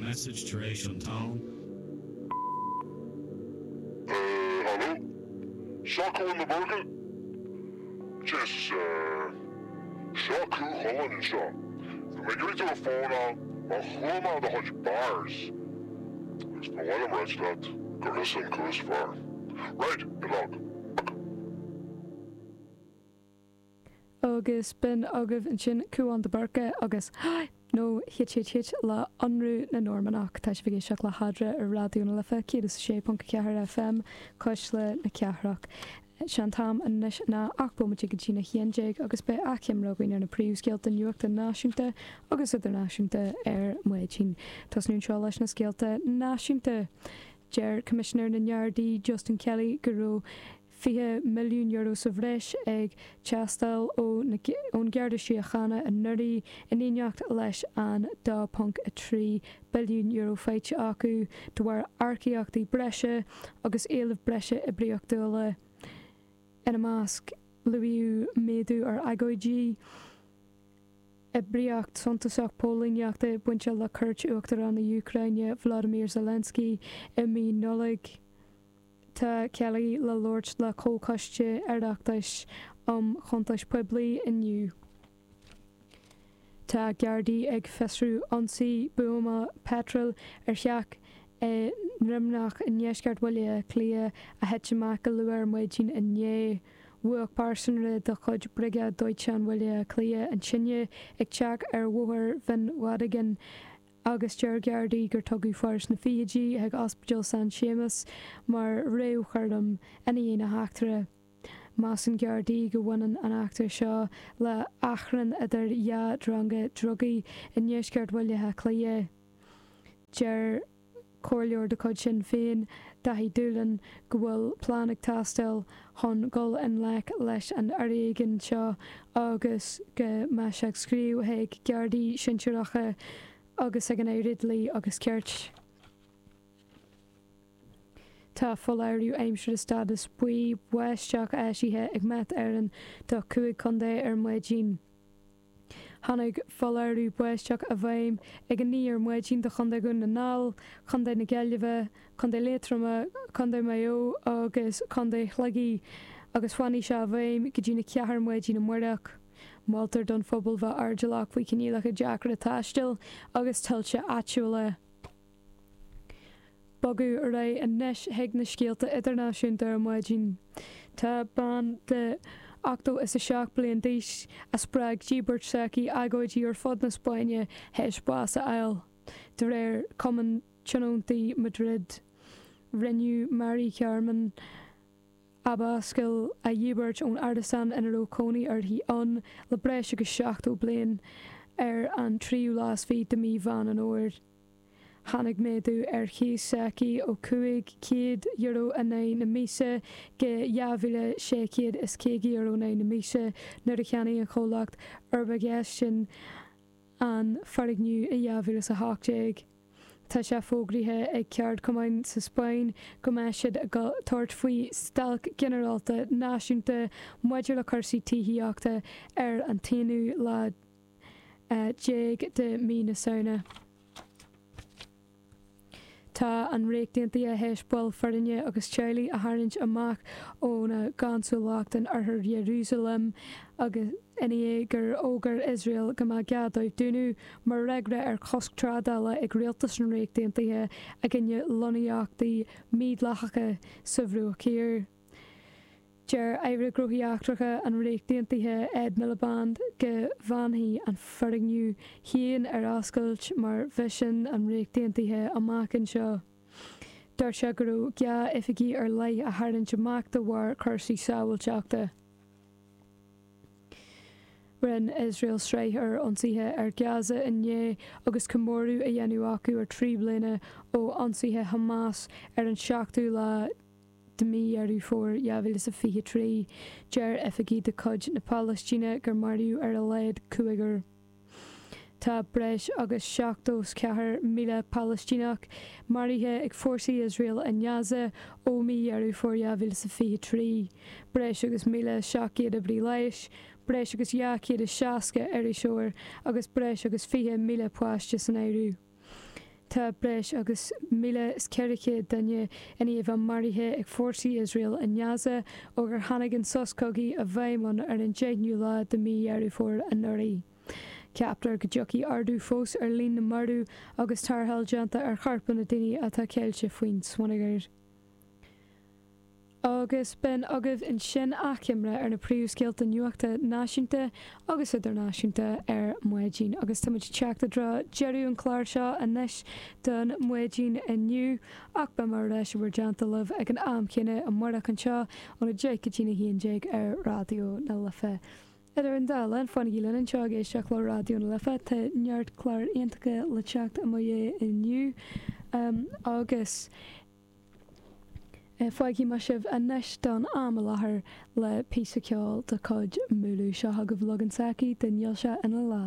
message tar éis an tóin. Haló? Seo Cúán de Búrca? Jesus, seo Cú Chulainn anseo. Bhí mé ag iarraidh tú a fónáil mar chuala mé do chuid bars agus ba mhaith liom ráit leat gur thusa an cú is fearr. Right, good luck. Agus b'in agaibh ansin Cúán de Búrca agus H nó HHH le Ionradh na Normannach. Tá sibh ag éisteacht le hEadra ar Raidió na Life 106.4 FM, Cuisle na Cathrach. Sé an t-am anois ná 8 bomaite go dtína 11 agus beidh achoimre againn ar na príomhscéalta nuachta náisiúnta agus idirnáisiúnta ar maidin. Tosnú anseo leis na scéalta náisiúnta. Deir Coimisinéir na nGardaí Justin Kelly go raibh €20 milliún sa bhreis ag teastáil ón Gharda Síochána anuraidh, in éineacht leis an €2.3 billiún faighte acu de bharr earcaíochtaí breise agus éilimh breise oibríochtúla. Ina measc, luaíodh méadú ar agóidí, oibríocht suntasach póilíneachta bainte le cuairt Uachtarán na hÚcráine Volodymyr Zelensky i mí Nollag. Tá Kelly le labhairt le Comhchoiste Oireachtais um Chuntais Poiblí inniu. Tá Gardaí ag fiosrú ionsaí buama peitril ar theach i nDroimneach i ndeisceart Bhaile Átha Cliath a thit amach go luath ar maidin inné. Mhúch pearsanra de chuid Briogáid Dóiteáin Bhaile Átha Cliath an tine ag teach ar Bhóthar Bhinn Mhadigan agus deir Gardaí gur tugadh fear sna fichidí chuig Ospidéal San Séamas mar réamhchúram ina dhiaidh na heachtra. Measann Gardaí go mbaineann an eachtra seo le achrann idir dhá dhronga drugaí i ndeisceart Bhaile Átha Cliath. Deir Comhairleoir de chuid Shinn Féin, Daithí Doolan, go bhfuil plean ag teastáil chun dul i ngleic leis an fhoréigean seo agus go mbeidh sé ag scríobh chuig Gardaí sinsearacha agus ag an Aire Dlí agus Cirt. Tá foláireamh aimsire stádas buí báisteach eisithe ag Met Éireann do 5 chontae ar maidin. Tháinig foláireamh báisteach i bhfeidhm ag 9 ar maidin do Chontae Dhún na nGall, Contae na Gaillimhe, Contae Liatroma, Contae Mhaigh Eo agus Contae Shligigh agus fanfaidh sé i bhfeidhm go dtína 4 ar maidin amárach. Moltar don phobal bheith airdeallach faoi choinníollacha deacra taistil agus tuilte áitiúla. Bogadh ar aghaidh anois chuig na scéalta idirnáisiúnta ar maidin. Tá bean de 87 bliain d'aois a spreag díbirt s'aici agóidí ar fud na Spáinne théis bás a fháil, de réir Cumann Tionóntaí Madrid. Rinneadh Mari Carmen Abascal a dhíbirt ón árasán ina raibh cónaí uirthi ann le breis agus 70 bliain ar an tríú lá is fiche de mhí Mheán an Fhómhair. Tháinig méadú ar chíos s'aici ó €500 in aghaidh na míosa go €2,650 in aghaidh na míosa nuair a cheannaigh an chomhlacht Urbgestion an foirgneamh i 2018. Tá sé fógraithe ag ceardchumainn sa Spáinn go mbeidh siad ag tabhairt faoi stailc ghinearálta náisiúnta maidir le cúrsaí tithíochta ar an t-aonú lá déag de mhí na Samhna. Tá an Ríocht Aontaithe théis baill foirne agus teaghlaigh a tharraingt amach óna gconsalacht in oirthear Iarúsailéim agus i ndiaidh gur fhógair Iosrael go mbeadh gá dóibh dúnadh mar fhreagra ar chosc trádála ag rialtas na Ríochta Aontaithe i gcoinne lonnaíochtaí mídhleathacha sa Bhruach Thiar. Deir Aire Gnóthaí Eachtracha an Ríocht Aontaithe Ed Miliband go bhfanfaidh an foirgneamh féin ar oscailt mar mhisean an Ríocht Aontaithe amach anseo. Dúirt sé go raibh gá oifigí ar leith a tharraingt amach de bharr cúrsaí sábháilteachta. Rinne Iosrael sraith ar ionsaithe ar Gaza inné agus comóradh á dhéanamh acu ar 3 bliana ó ionsaithe Hamas ar an seachtú lá de mhí Dheireadh Fómhair 2023, deir oifigigh de chuid na Palaistíne gur maraíodh ar a laghad cúigear. Tá breis agus 74,000 Palaistíneach maraithe ag fórsaí Iosrael i nGaza ó mhí Dheireadh Fómhair 2023, breis agus 1,700 oibrí leighis, breis agus 260 iriseoir agus breis agus 20,000 páiste san áireamh. Tá breis agus 1,400 duine i ndiaidh a bheith maraithe ag fórsaí Iosrael i nGaza ó gur tháinig an sos cogaidh i bhfeidhm ann ar an 10ú lá de mhí Dheireadh Fómhair anuraidh. Ceaptar go dtiocfaidh ardú fós ar líon na marbh agus tarrtháil déanta ar chorpanna daoine atá ceilte faoin smionagar. Agus b'in agaibh ansin achoimre ar na príomhscéalta nuachta náisiúnta agus idirnáisiúnta ar maidin. Agus táimid ag teacht i dtreo deireadh an chláir seo anois don mhaidin inniu, ach beidh mé ar ais i bhur dteannta libh ag an am céanna amárach anseo óna 10 go dtína 11 ar Raidió na Life. Idir an dá linn, fanaigí linn anseo ag éisteacht le Raidió na Life, tá neart cláir iontacha le teacht i mo dhiaidh inniu agus. Fágfaidh mé sibh anois don am i láthair le píosa ceoil de chuid Múlú. Seo chugaibh leagan s'aici de Níl sé ina lá.